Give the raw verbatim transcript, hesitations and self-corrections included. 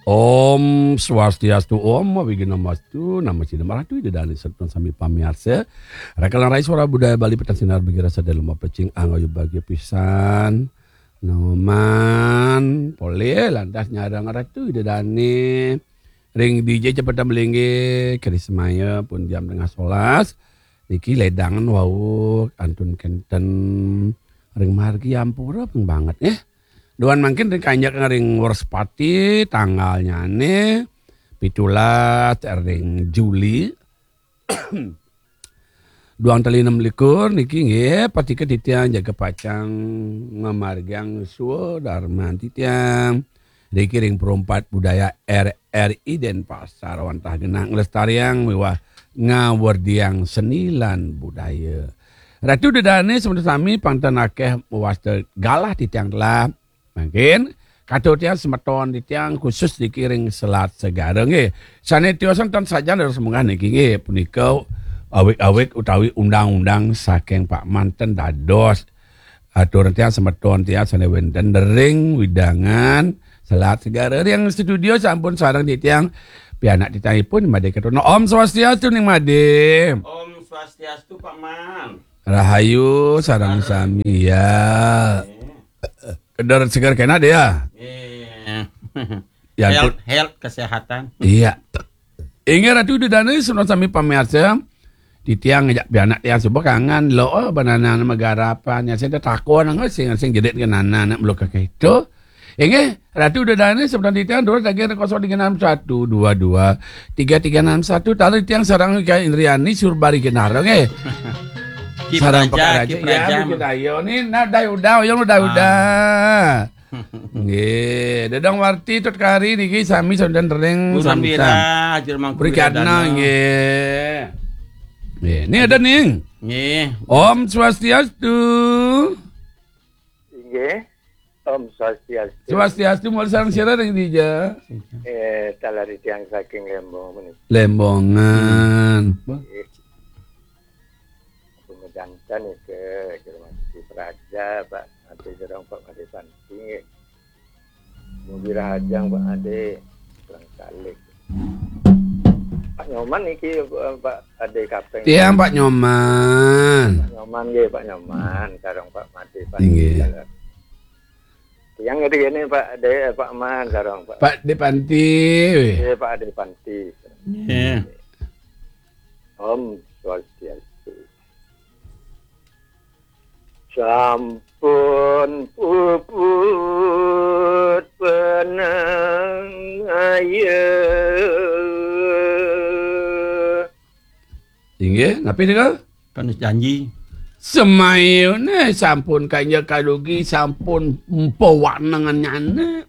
Om Swastiastu, Om Awighnamastu, Namo Siddham. Ratu Ida Dané sareng sami pamiarsa. Rakalan Rai Suara Budaya Bali Petang Sinar Bagi Rasa Dalem Pecing Angga Bagia Pisan. Noman, polih lantas nyareng Ratu Ida Dané. Ring D J cepet melinggih, keris maya pun jam tengah solas. Niki ledangan wau kantun kenten ring margi ampura ping banget nggih. Duan mangkin ring kanjeng ring Wrespati tanggalnyané pitulas ring Juli. Duang tali enam likur niki nggih, patika titiang jaga pacang ngamargiang swadarman titiang. Niki ring Perumpat Budaya R R I Denpasar wantah genah nglestariang miwah ngawerdiang seni lan budaya. Ratu Ida Dané semeton sami pang ten akéh mawasta galah titiang telah. Mangkin katur tiang semeton titiang khusus niki ring Selat Segara nggih. Sané tiosan ten sajan dados munggah niki nggih punika awig-awig utawi undang-undang saking Pak Man ten dados atur tiang semeton tiang sané wénten ring wewidangan Selat Segara. Ring studio sampun sareng titiang pianak titiangipun Madé Ketuno. Om Swastiastu ning Madé. Om Swastiastu, Pak Man. Rahayu sareng sami ya. Kedar seger kena dia. Iya. Ya, health, ampun. Health, kesehatan. Iya. Inggih Ratu Ida Dané, semeton sami pamiarsa. Titiang ngajak pianak tiang suba kangen lo, oh, banana magarapan. Ya, saya takon nang sing, sing jerit ke nana, nak meluk ke itu. Inggih, Ratu Ida Dané, semeton titiang, dua tiga enam satu dua dua tiga tiga enam satu. Taler titiang sareng Ika Indriani, Surbari Kinaro, nggih. Ki Sareng Praja, Pekaraja, Ki ya, Praja. Niki dayo. Ni, nah, dai udah, yang udah, ah, udah. Nggih, Dadang Warti Tut Kari niki sami sadan ring Guru Samsat. Wira, Haji Mangku Wira Dana, Dana. Nggih. Nggih, ni ada ning. Nggih. Om Swastiastu. Inggih. Om Swastiastu. Swastiastu, mawali sareng sira ring dija? Eh, taler titiang saking Lembong menika. Lembongan. Nggih. Pemedangkan niki, Ki Praja, Pak Ade Jerong, Pak Ade Panti, nggih. Mugi rahajeng, Pak Ade, pulang kalik. Pak Nyoman niki, eh, Pak Ade Kapeng. Tiang Pak Nyoman. Pak Nyoman, nggih, Pak Nyoman, sareng Pak Ade Panti. Inggih. Tiang nggih, ini Pak Ade, Pak Man, sareng Pak Pak Ade Panti. Nggih, Pak Ade Panti. Nggih. Om Swastiastu. Sampun puput penangaya. Inggih, napi nika? Kanus janji. Semayune sampun kanya kadugi, sampun mpa wanengan nyana.